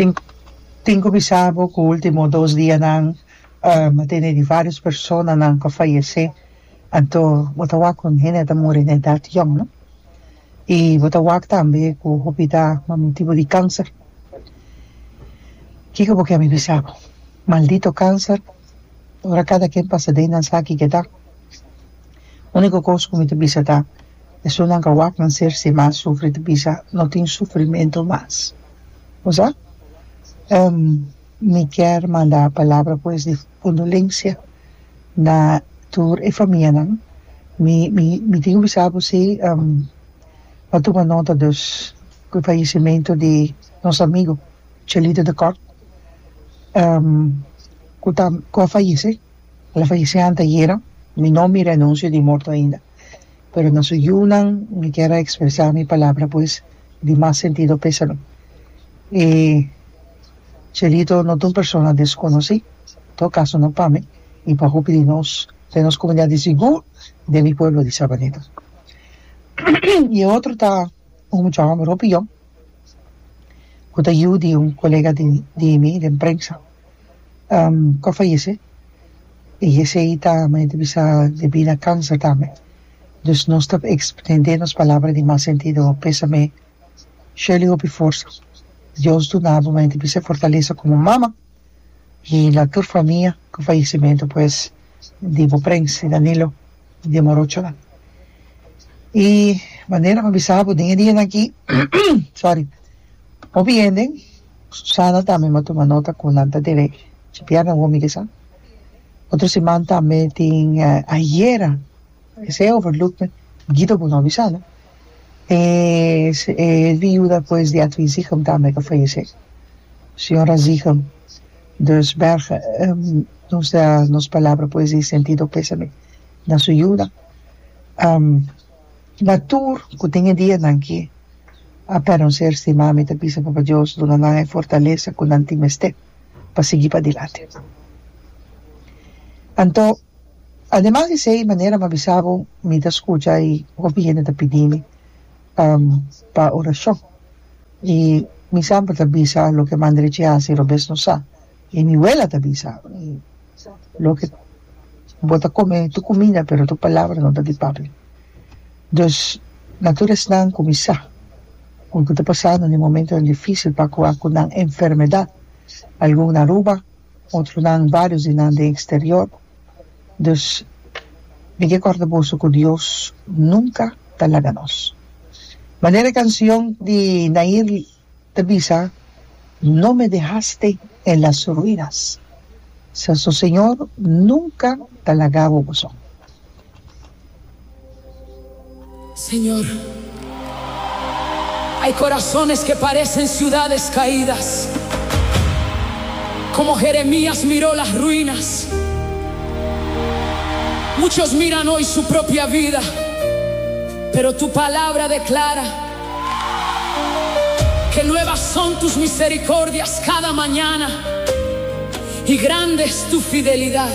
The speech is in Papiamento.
Tin tin ku bisa bo ku ultimo dos dianan a tene di varios personanan ku a fayesé, anto bo ta wak ku hende ta muri na edat yòn no, i bo ta wak tambe ku hopi ta pa motibu di kanser. Kiko bo ke mi bisa bo? Maldito kanser, ora kada ken pasa den nan sa kiko e ta. Úniko kos ku mi ta bisa ta, esunnan ka wak nan ser stima sufri ta bisa no tin sufrimentu mas. Bo sa? Mi kier manda palabra pues di kondolensia na tur e famianan. Mi mi mi tin ku bisa bo si a tuma nota dus ku e fayesimentu di nos amigo Chelito de Kort ku ta ku a fayese. El a fayesé antayera. Mi no mira anunsio di morto ainda, pero na su yunan mi kier a ekspresá mi palabra pues di mas sentido pésame. E Chelito no ta un persona deskonosí, en todo kaso no pa mi i pa hopi di nos den nos komunidat di sigur den mi pueblo di Sabaneta. I e otro ta un mucha hòmber hopi yòn ku ta yu di un kolega di mi den prensa ku a fayesé i esei ta manera ta bisa debí na kanser tambe. Dus nos ta ekstendé nos palabra di mas sentido pésame. Shirley hopi forsa. Dios duna bo mente bisa fortalesa como mama y na tur famia cu fallecimento pues di bo Prens y Danilo y di morochonan. Y manera mi bisa bo den e dianan aki sorry hopi hende Susana tambe mi a tuma nota cu nan ta debe djabièrnè awor mi ke sa otro siman tambe tin ayera. Esei overlook me Guido bo no a bisa no. E e viuda pues di Edwin Zichem tambe ku a fayesé. Señora Zichem. Dus berg nos da nos palabra pues di sentido pésame na su yuda. Na tur ku den e dianan ki a pèrdè un ser stimá mi ta bisa Papa Dios duna nan e fortalesa ku nan tin mester pa sigui padilanti. Anto. Ademas di esei, manera mi a bisa bo, mi ta skucha i hopi hende ta pidi mi pa orashon. I mi semper ta bisa loke man drechi hasi robes no sa. I mi wela ta bisa, loke bo ta kome tu kuminda pero tu palabra no ta di papia. Dus, na tur esnan ku mi sa ku ta pasando den momentonan difisil pa ku ku nan enfermedat, algun na Aruba, Otronan, varios di nan den exterior. Dus, mi ke corda boso cu Dios nunca ta laga nos. Manera e cancion di Nair ta bisa, No me dejaste en las ruinas. So Señor nunca ta laga bo boso. Señor, hay corazones que parecen ciudades caídas, como Jeremías miró las ruinas. Muchos miran hoy su propia vida, pero tu palabra declara que nuevas son tus misericordias cada mañana y grande es tu fidelidad.